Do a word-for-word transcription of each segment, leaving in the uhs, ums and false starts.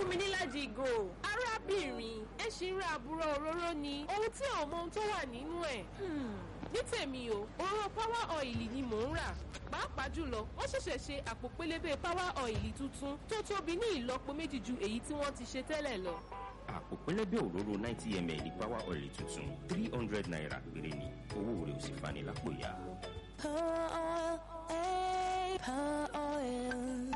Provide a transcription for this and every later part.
Fún mi níláàjì ìgò. Arábìnrin, ẹ ṣì ń ra àbúrò òróró ni. Ohun tí ò mọ ohun tó wà nínú ẹ̀. Ní tèmi o, òróró Power Oil ni mò ń rà. Pàápàá jùlọ, wọ́n ṣẹ̀ṣẹ̀ ṣe àpò pélébé Power Oil tuntun tó tóbi ní ìlọ́po méjì ju èyí tí wọ́n ti ṣe tẹ́lẹ̀ lọ. Àpò pẹlẹbẹ òróró ninety ml Power Oil tuntun, three hundred naira péré ni. Owó rẹ̀ ò sì fani lápò ya. Power oil, eh, power oil.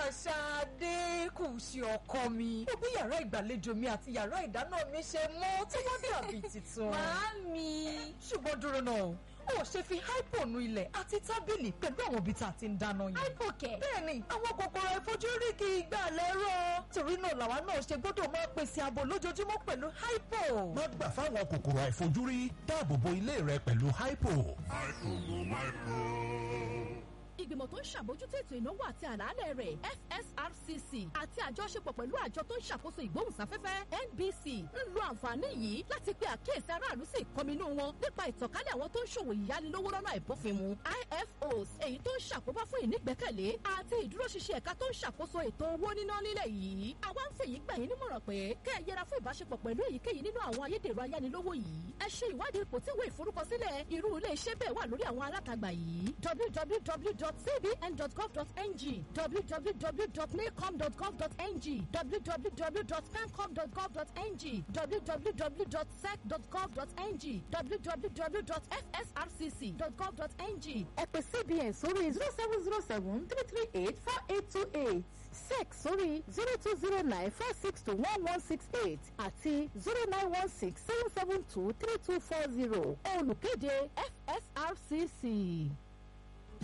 Ṣadé kù sí ọkọ mi. Ó bí yàrá ìgbàlejò mi àti yàrá ìdáná mi ṣe mọ́ tí wọ́n dàbí tuntun. Màámi. Ṣùgbọ́n dúró náà, ó ṣe fi hypo nu ilẹ̀ àti tábìlì pẹ̀lú àwọn ibi tá a ti ń dáná yìí. Hypo kẹ̀. Bẹ́ẹ̀ni, àwọn kòkòrò àìfojúrí kì í gbà lẹ́rọ̀. Torí náà làwa náà ṣe gbọ́dọ̀ máa pèsè ààbò lójoojúmọ́ pẹ̀lú hypo. Má gbà fáwọn kòkòrò àìfojúrí, dáàbò bo ilé rẹ pẹ̀lú hypo. Ìgbìmọ̀ tó ń ṣàbójútó ètò ìnáwó àti àlàálẹ̀ rẹ̀, F S R C C, àti àjọṣepọ̀ pẹ̀lú àjọ tó ń ṣàkóso ìgbóhùnsáfẹ́fẹ́, N B C, ń lo àǹfààní yìí láti pe àkíyèsí aráàlú sí ìkọminú wọn nípa ìtànkálẹ̀ àwọn tó ń ṣòwò ìyánilówó lọ́nà àìbófinmu, I F Os, èyí tó ń ṣàkóbá fún ìnígbẹ́kẹ̀lé àti ìdúróṣinṣin ẹ̀ka tó ń ṣàkóso ètò owó níná nílẹ̀ yìí. Àwa ń fèyí gbà yín nímọ̀ràn pé kẹ́ ẹ yẹra fún ìbáṣepọ̀ pẹ̀lú èyíkéyìí nínú àwọn ayédèrú ayánilówó yìí. Ẹ ṣe ìwádìí ipò tí ìwé ìforúkọsílẹ̀ irú ilé iṣẹ́ bẹ́ẹ̀ wà lórí àwọn alátagbà yìí: w w w dot c b n dot gov dot n g, w w w dot nacom dot gov dot n g, w w w dot pencom dot gov dot n g, w w w dot sec dot gov dot n g, w w w dot f s r c c dot gov dot n g. Ẹ pè C B N sórí zero seven zero seven three three eight four eight two eight, sec sórí zero two zero nine four six two one one six eight àti zero nine one six seven seven two three two four zero. Olùkéde, F S R C C.